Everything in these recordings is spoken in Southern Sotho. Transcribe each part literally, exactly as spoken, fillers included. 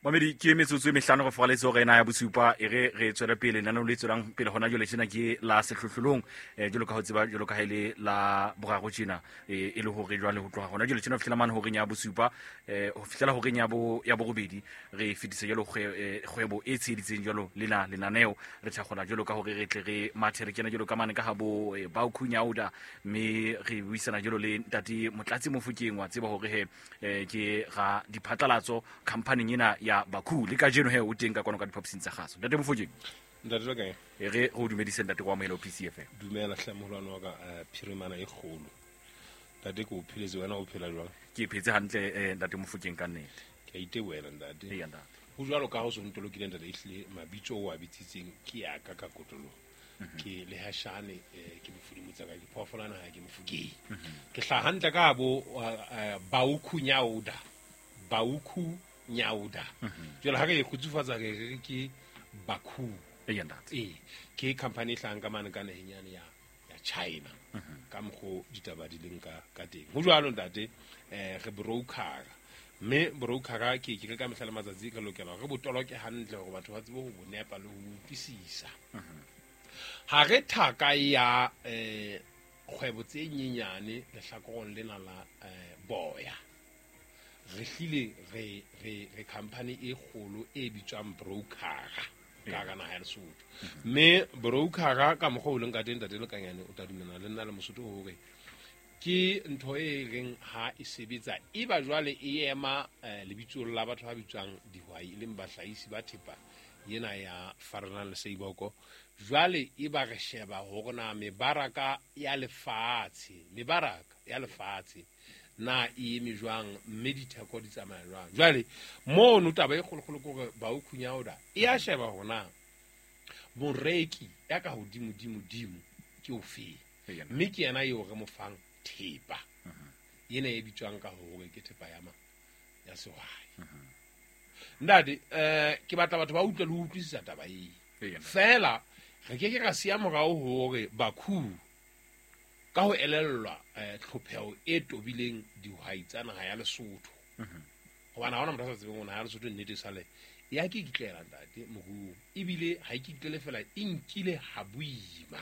Mamedi ke metsotso e mehlano go fogaletse gore ena ya bosupa e re re tswele pele lenaneo le tswelang pele gona jwale tjena ke la sehlohlolong eh jwalo ka ho tseba jwalo ka ha ile la boraro tjena e le hore jwale ho tloha gona jwale tjena ho fihlela mane horeng ya bosupa eh ho fihlela horeng ya bo ya borobedi re fetise jwalo kgwebo e tsheheditseng jwalo lena lenaneo re tshakgola jwalo ka hore re tle re mathe re kena jwalo ka mane ka ha bo ba Khunyauda mme re buisana jwalo le ntate Motlatsi Mofokeng wa tseba hore he ke ga diphatlalatso company ena ya Bakhu le kajeno he o teng ka kwano ka diphaposing tsa kgaso. Ntate Mofokeng. Ntate wa kae? E re go dumedise ntate kwa amohela P C F M. Dumela hle moholwane wa ka phirimana e kgolo. Ntate ke o pheletse wena o phela jwang? Ke phetse hantle ntate Mofokeng ka nnete. Ke a itebohela ntate. Eya ntate. Ho jwalo ka ha o so ntolokile ntate ehlile mabitso o a bitsitseng ke ya ka ka kotloloho. Ke le hashane ke mofudimo tsa ka ke phoofolana ha ke Mofokeng. Ke hlaha hantle ka bo Baukhunyauda. Baukhu Nyauda. Jwale ha re e kgutsufatsa re re ke Bakhu. Eya ntate. Eh, ke company e hlahang ka mane ka naheng yane ya ya China. Ka mokgo ditaba di leng ka ka teng. Ho jwalo ntate, eh re broker. Mme broker ke ke ka mehla le matsatsi re lokela re botoloke hantle hore batho ba tsebe ho bo nepa le ho utlwisisa. Ha re thaka ya eh kgwebo tse nyenyane lehlakorong lena la boya. Re hlile re re re company e kgolo e bitswang broker ka ka naha ya Lesotho. Mme broker ka mokgwa o leng ka teng ntate Lekanyane o tla dumellana le nna le Mosotho hore ke ntho e reng ha e sebetsa e ba jwale e ema lebitsong la batho ba bitswang dihwai e leng bahlahisi ba thepa yena ya Faranang le Seiboko. Jwale e ba re sheba hore na mebaraka ya lefatshe mebaraka ya lefatshe na e eme jwang mme ditheko di tsamaya jwang. Jwale mono taba e kgolokgolo ke hore Baukhunyauda e a sheba hore na moreki ya ka hodimo-dimo-dimo ke ofeng, mme ke yena eo re mo fang thepa ena e bitswang ka hore ke thepa ya ma ya sehwai. Ntate eh ke batla batho ba utlwe le ho utlwisisa taba e fela re ke ke ra siya morao hore Bakhu ka ho elellwa tlhopheho e tobileng dihwai tsa naha ya Lesotho. Hobane ha hona motho a sa tsebeng hore naha ya Lesotho nnete sale ya ke kitlela ntate moruo ebile ha e kitlele fela e nkile ha boima.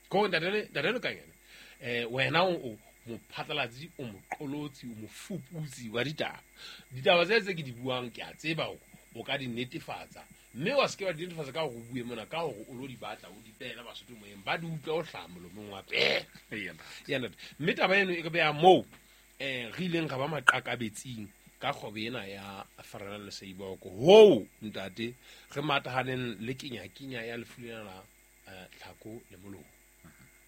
Ko ntate ntate Lekanyane eh wena o mophatlalatsi o moqolotsi o mofuputsi wa ditaba. Ditaba tse tse ke di buang ke a tseba hore o ka di netefatsa mme wa se ke wa di netefatsa ka hore o bue mona ka hore o lo di batla o di pela Basotho moyeng ba di utlwa o hlaha molomong wa pela. Eya ntate. Mme taba eno e re beha moo eh re ileng ra ba maqakabetsing ka kgwebo ena ya Faranang le Seiboko. Hoo ntate re matahaneng le kenyakinya ya lefu lena la tlhako le molomo,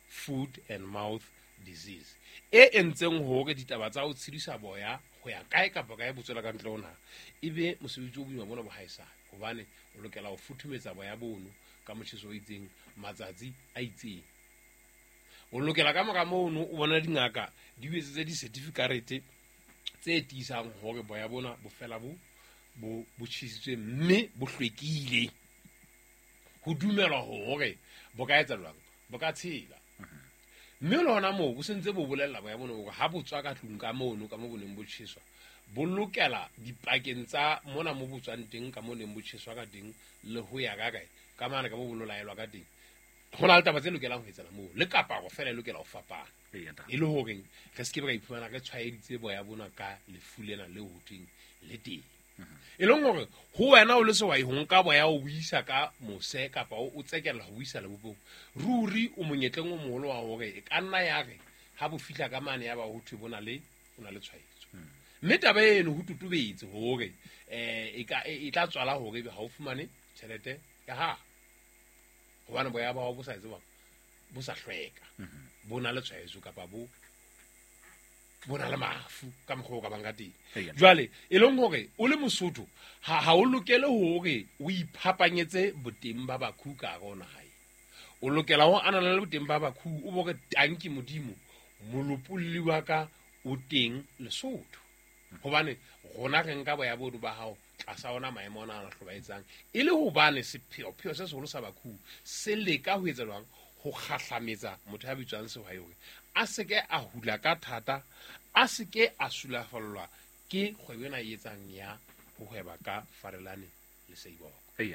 food and mouth disease e entseng hore ditaba tsa ho tshedisa boya ho ya kae kapa kae botswela ka ntle ho naha ebe mosebetsi o boima bona bo haesale hobane o lokela ho futhumetsa boya bono ka motjheso o itseng matsatsi a itseng. O lokela ka mora mono o bona dingaka di o etsetse di-certificate tse tiisang hore boya bona bo fela bo bo bo tjhesitswe mme bo hlwekile. Ho dumelwa hore bo ka etsa jwang, bo ka tshela. Mme le hona moo bo sentse bo bolella boya bona hore ha bo tswa ka tlung ka mono ka mo bo neng bo tjheswa bo lokela dipakeng tsa mona mo bo tswang teng ka mo neng bo tjheswa ka teng le ho ya ka kae ka mane ka mo bo lolaelwa ka teng. Ho na le taba tse lokelang ho etsana moo le kaparo fela e lokela ho fapana e le horeng re se ke ra iphumana re tshwaeditse boya bona ka lefu lena le ho thweng le teng. E leng hore ho wena o le sehwai ho nka boya o buisa ka mose kapa o tsekella ho buisa lebopong ruri o monyetleng o moholo wa hore e ka nna ya re ha bo fihla ka mane ya ba ho thwe bona le o na le tshwaetso. Mme taba eno ho totobetse hore eh e ka e tla tswala hore ebe ha o fumane tjhelete ya hao hobane boya ba hao bo sa etse bo sa hlweka bo na le tshwaetso kapa bo bona le mafu ka mokgwa o ka bang ka teng. Jwale e leng hore o le Mosotho ha ha o lokele hore o iphapanyetse boteng ba Bakhu ka hare ho naha. O lokela ho ananela boteng ba Bakhu o bo re tanki Modimo molopolli wa ka o teng Lesotho. Hobane rona re nka boya bodu ba hao tlasa ona maemo ona a hlobaetsang e le hobane sepheo se seholo sa Bakhu se leka ho etsa jwang ho kgahlametsa motho ya bitswang sehwai hore a se ke a hula ka thata a se ke a sulafallwa ke kgwebo ena e etsang ya ho hweba ka Farelane le Seiboko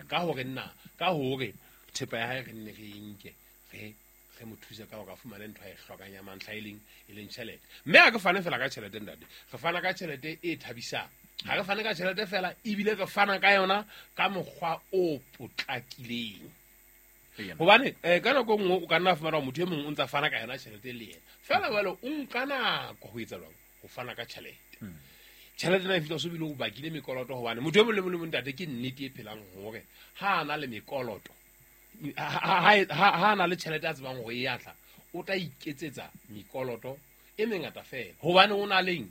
ka hore nna ka hore thepa ya hae re nne re nke re re mo thuse ka hore a fumane ntho a e hlokang ya mantlha e leng e leng tjhelete. Mme ha re fane fela ka tjhelete ntate, re fana ka tjhelete e thabisang. Ha re fane ka tjhelete fela, ebile re fana ka yona ka mokgwa o potlakileng. Hobane eh ka nako nngwe o ka nna fumana motho e mong o ntsa fana ka yona tjhelete le yena fela jwale o nka nako ho etsa jwang ho fana ka tjhelete. Tjhelete ena e fihla so bile o bakile mekoloto, hobane motho e mong le mong le mong ntate ke nnete e phelang hore ha a na le mekoloto, ha a na le tjhelete a tsebang hore e ya tla, o tla iketsetsa mekoloto e mengata fela, hobane o na leng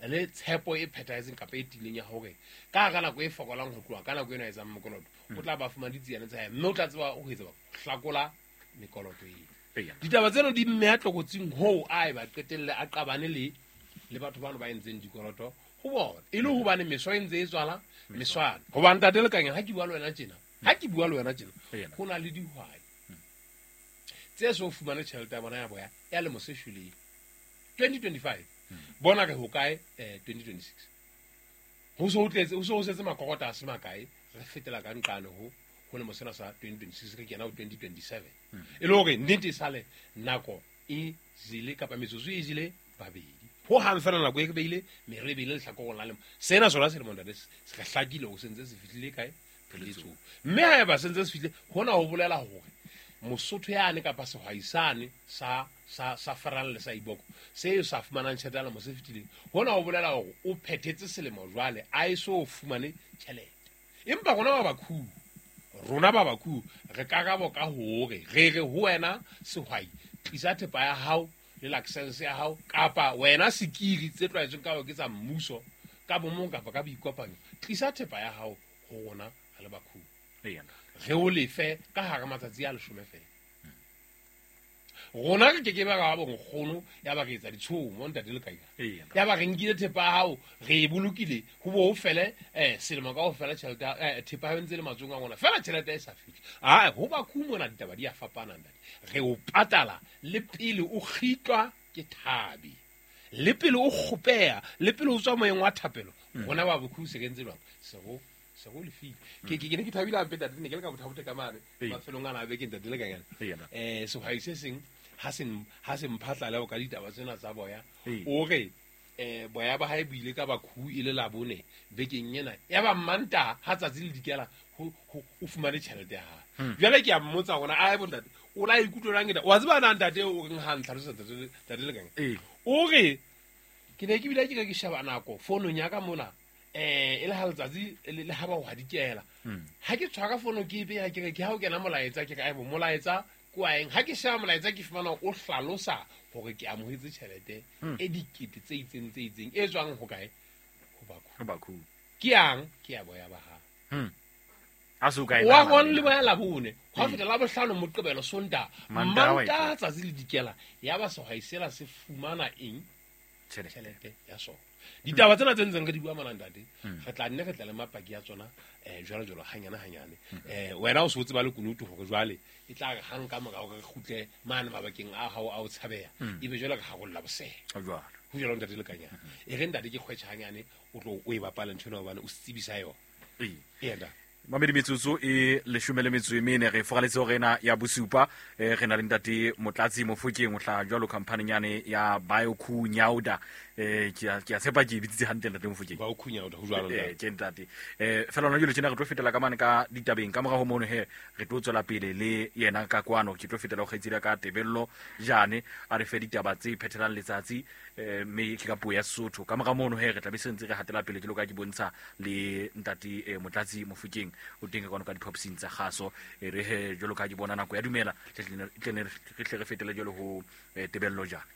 le tshepo e phethahetseng kapa e tiileng ya hore ka hara nako e fokolang ho tloha ka nako ena a etsang mokoloto o tla ba fumana ditsiane tsa hae, mme o tla tseba ho etsa hlakola mekoloto eo. Ditaba tseno di mmeha tlokotsing hoo a e ba qetelle a qabane le le batho bano ba entseng dikoloto ho bona, e le hobane meso e ntse e tswala meswana. Hobane ntate Lekanya, ha ke bua le wena tjena, ha ke bua le wena tjena, ho na le dihwai tse so fumane tjhelete ya bona ya boya ya lemo se shweleng twenty twenty-five. Bona re ho kae eh twenty twenty-six ho so ho tletse, ho so ho setse makokota a se makae, re fetela ka nqane ho ho lemo sena sa twenty twenty-six re kena ho twenty twenty-seven. E le hore nnete e sale nako e jele kapa metsotso e jele babedi ho hang fela nako e re beile me re beile lehlakoreng la lemo sena sona selemo ntate se re hlakile ho sentse se fihlile kae pheletsong. Mme haeba se ntse se fihlile hona ho bolela hore Mosotho yane kapa sehwai sane sa sa sa Farang le sa Iboko se sa fumanang tjhelete ya lemo se fetileng, hona ho bolela hore o phethetse selemo jwale a e so fumane tjhelete. Empa rona ba bakhu, rona ba bakhu re karabo ka hore re re ho wena sehwai tlisa thepa ya hao le license ya hao, kapa wena sekiri tse tlwaetsweng ka hore ke tsa mmuso ka bomong kapa ka boikopanyo, tlisa thepa ya hao ho rona re le bakhu, re o lefe ka hara matsatsi a leshome fela. Rona re keke ba ra bo nkgono ya ba re etsa ditshomo ntate Lekanya, ya ba re nkile thepa ya hao re e bolokile ho bo ho fele eh selemo ka ho fela tjhelete eh thepa ya ntse le matsohong a rona fela tjhelete e sa fihle. Ah, ho ba khumona ditaba di a fapana ntate, re o patala le pele o kgitlwa ke thabi, le pele o kgopeha, le pele o tswa moyeng wa thapelo. Rona ba bokhu se re ntse jwang se go se go lefile. Ke ke ne ke thabile hampe ntate, ne ke le ka bothabote ka mane mafelong ana a beke ntate Lekanya. Eh sehwai se seng ha se ha se mphatlala ka ditaba tsena tsa boya, o re eh boya ba hae bo ile ka bakhu e le labone bekeng ena ya ba Mmantaha ha tsatsi le dikela ho o fumane tjhelete ya hae. Jwale ke a mmotsa hore a bo ntate o la ikutlwelang eda wa tseba na ntate o reng ha ntlhalosetsa ntate ntate Lekanya. O re ke ne ke bile ke re ke sheba nako founong ya ka mona eh e le ha letsatsi le ha ba ho hadikela, ha ke tshwara fono ke e beha ke re ke ha o kena molaetsa ke re aibo molaetsa ko a eng, ha ke sheba molaetsa ke fumana o hlalosa hore ke amohetse tjhelete e dikete tse itseng tse itseng e tswang ho kae ho bakhu, ho bakhu ke yang ke ya boya ba ha a so kae wa gone le boya labone ha feta la bohlano Moqebelo Sontaha Mantaha tsatsi le dikela ya ba sehwai sela se fumana eng tjhelete ya sona. Ditaba tsena tse ntseng re di bua mona ntate, re tla nne re tla le mapaki ya tsona eh jwalo jwalo hanyane hanyane. Eh wena o se o tseba le kunutu hore jwale e tla re hang ka morao re kgutle mane mabakeng a hao a o tshabeha, ebe jwale re harolla bosele jwalo ho jwalo ntate Lekanya. E re ntate ke kgwetjha hanyane o tlo o e bapala ntho ena hobane o se tsebisa yona. Ee ntate Mamedi metsotso e leshome le metso e mene re foraletse hore ena ya bosupa eh re na le ntate Motlatsi Mofokeng o hlaha jwalo company yane ya Bioku Nyauda. Eh ke a ke a tshepa ke bitsitse hantle ntate Mofokeng. Bioku Nyauda ho jwalo ntate. Eh ke ntate. Eh fela hona jwale tjena re tlo fetela ka mane ka ditabeng ka mora ho mono he re tlo tswela pele le yena ka kwano ke tlo fetela ho kgaitsedi ka Tebello Jane a re fe ditaba tse phethelang letsatsi eh mme ke ka puo ya Sesotho. Ka mora mono he re tla be se ntse re hatela pele ke lo ka ke bontsha le ntate Motlatsi Mofokeng o teng ka kwano ka diphapusing tsa kgaso e re he jwalo ka ke bona nako ya dumela tle re fetele jwalo ho Tebello Jane.